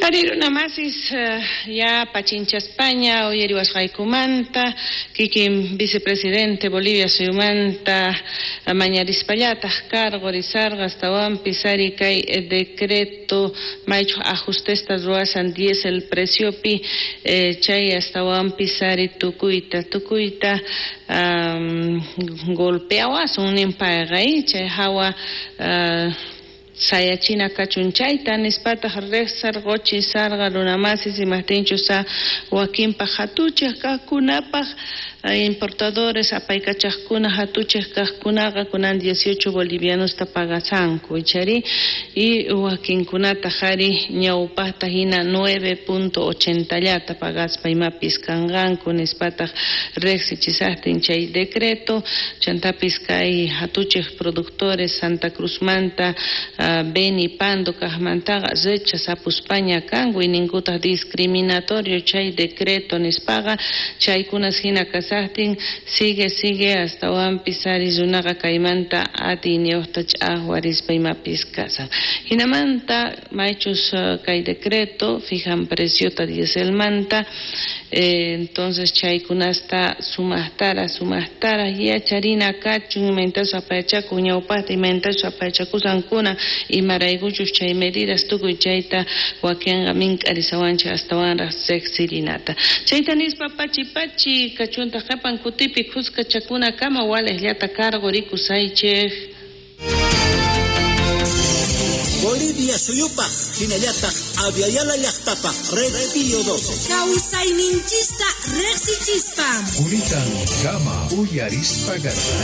Ari runa masis ya pachinchaspaña uyariwasqaykumanta kikin vicepresidente Bolivia suyumanta mañarispallataq karqurisarqa astawanpis ari kay decreto maychus ajustesta ruwasan diesel preciopi chay astawanpis ari tukuyta tukuyta golpeawasun ninpayqa chay hawa sayachina kachun chayta nispataq riqsarquchi sarqa runamasis imaqtinchus wakinpaq hatuchaq kaqkunapaq importadores apaykachaqkuna hatuchaq kaqkunaqa kunan 18 bolivianosta pagasanku ichari y wakinkunataq ari ñawpaqta hina 9.80 llata pagaspa imapis kanqanku nispataq riqsichisaqtin chay decreto chantapis kay hatuchaq productores Santa Cruzmanta Beni Pando kaqmantaqa rechazapuspaña kanku ninkutaq discriminatorio chay decreto nispaqa chaykunas hina kasaqtin sigue sigue astawanpis ari runaqa kaymanta atiyniyuqta ch'aqwarispa imapis kasan hinamanta maychus kay decreto fijan preciota dieselmanta entonces chaykunasta sumaqtara sumaqtara yacharina kachun imaynatachus apayachakun ñawpaqta imaynatachus apayachakusankuna imaraykuchus chay medidas tukuy chayta wakinqa mink'arisawanchik astawanraq riqsirinata chayta nispa pachi pachi kachuntaq qhipan kutipi khuskachakunakama waliqllata karqurikusaychik. Bolivia suyupaq hinallataq Abya Yala llaqtapaq Red Pío 12. Kawsayninchista riqsichispa. Quritan kama uyarispa garqanchik.